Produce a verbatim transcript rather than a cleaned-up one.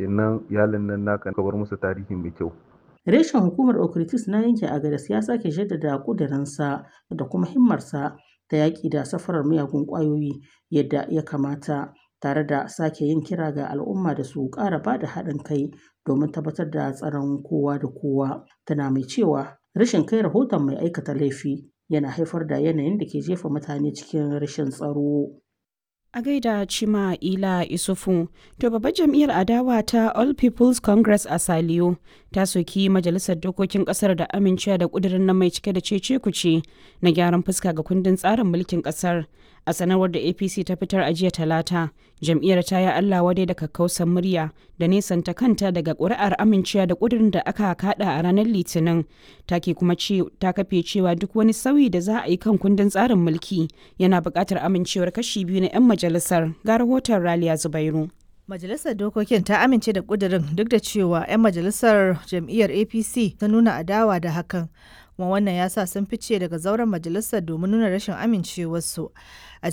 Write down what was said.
Kenan iyalin nan naka ka bar musu tarihi mai kyau. Reshen hukumar Okitis na yankin Agadez ya sake jaddada ƙudurinsa da kuma himmarsa ta yaƙi da safarar miyagun ƙwayoyi yadda ya kamata, tare da sake yin kira ga al'umma da su ƙara bada haɗin kai domin tabbatar da tsaron kowa da kowa. Tana mai cewa rashin kai rahoton mai aikata laifi yana haifar da yanayin da ke jefa mutane cikin rashin tsaro. A gaida Chima Ila Isufu, to babbar jam'iyyar adawa ta All People's Congress a Saliyo ta soki majalisar dokokin kasar da amincewa da kudirin nan mai cike da cece kuce na gyaran fuska ga kundin tsarin mulkin kasar. A sanarwar da A P C ta fitar a jiya Talata, jam'iyyar ta yi Allah wadai da kakkausan murya da nesanta kanta daga ƙuri'ar amincewa da kudirin da aka kada a ranar Litinin. Ta ke kuma ce ta kafe cewa duk wani sauyi da za a yi kan kundin tsarin mulki yana buƙatar amincewar kashi biyu na 'yan majalisar. Ga rahoton Raliya Zubairu. Majalisar Dokokin ta amince da ƙudurin duk da cewa 'yan majalisar jam'iyyar A P C ta nuna adawa da hakan. Kuma wannan ya sa sun fice daga zauren majalisar domin nuna rashin amincewarsu. A